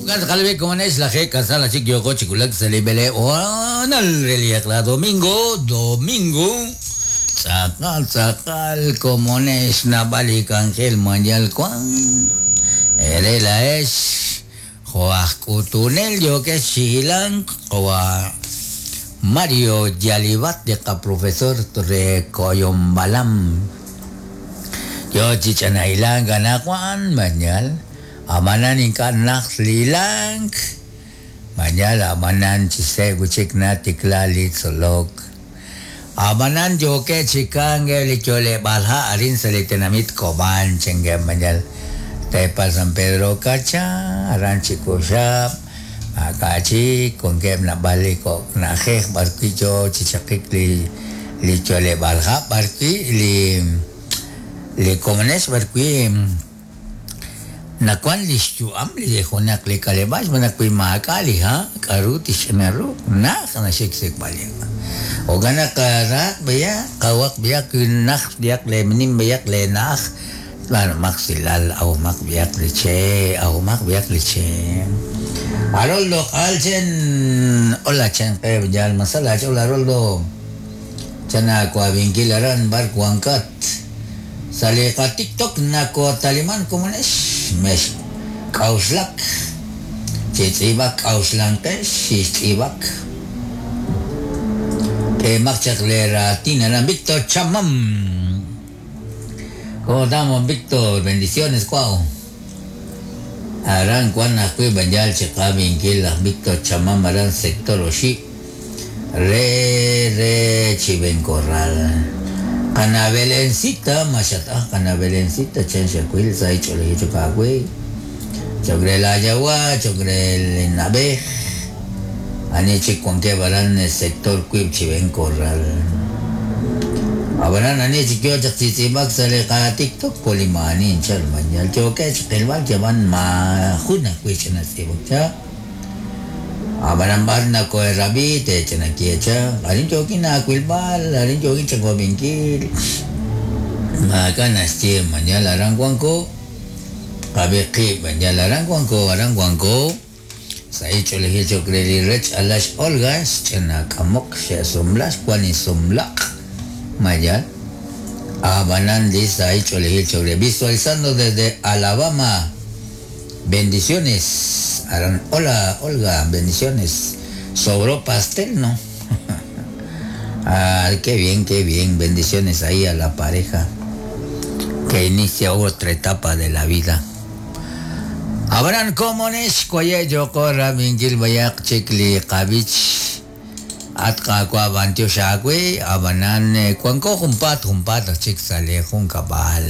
Kalbe komonex laje kasala chik yoko chikulak salibele onal reliekla domingo domingo tzakal tzakal komonex nabalik angel manyal kwan erela es joaj kutunel yoke xilan joa Mario Yalibat de ka profesor re Koyombalam yo chichanailan ganakwan manyal amanan inka lilang manyal amanan chise guchik na tiklali tzolok amanan yoke chikange lichole balha arin salitenamit koban chenge manyal tepa San Pedro Cacha aran chikushap akachi con que na baliko na jej barquillo chichakik li lichole balha barqui li li komones barqui nakuan lixyu'am li junaq li kalebax manakui maakali ha k'aru tixch'inaru naj naxiksikb'al ogana qaraq b'aya qawaq b'aya naj b'ayaq le nim b'ayaq le naj bueno maq silal awmaq b'ayaq li che awmaq b'ayaq li che Haroldo Alchen hola chen qe yal masala hola Haroldo chana kuabinkil aran bar kuankat saliqa TikTok nako taliman komonex mex k'awxlak chitz'ib'ak k'awxlanqex xixtz'ib'ak k'emaq chaq le ratin aran Víctor Chamam. ¿Cómo estamos, Víctor? Bendiciones, cuau. Aran kuan ajwi' b'anyal chiqabinkil laj Víctor Chamam aran sector oxi re re Chiven Corral. Kana Belencita, mashatah kana Belencita, chen xakwil say ch'olej chukakwi. Chogre la yawa, chogre el nabej. Ani chikwanke baran el sector kuib Chiven Corral. Abaran ani chikyo chak tzitzibak sale ka TikTok polimani inchal manyal choke chikilbal jaban ma juna kuichana sibak cha. Abaran bar na ko rabi te chana kiecha. Arin choki na kuilbal, arin choki chakobinkil. Makanas chi manyal aran guanko. Kabiqi manyal aran guanko, aran guanko. Sai choleji chokreli rech alash olga, chana kamok she sumlash kwani sumlak. Mayal. Abanan dice ahí choleji chokre. Visualizando desde Alabama. Bendiciones. Aran, hola, Olga, bendiciones. Sobró pastel, ¿no? Ah, qué bien, qué bien. Bendiciones ahí a la pareja que inicia otra etapa de la vida. Abraham Comones, cuaye yokora minkil bayak chikli qabich atka kwa bantio shakwe abanan cuanco jumpat jumpat chik sale jun kabal.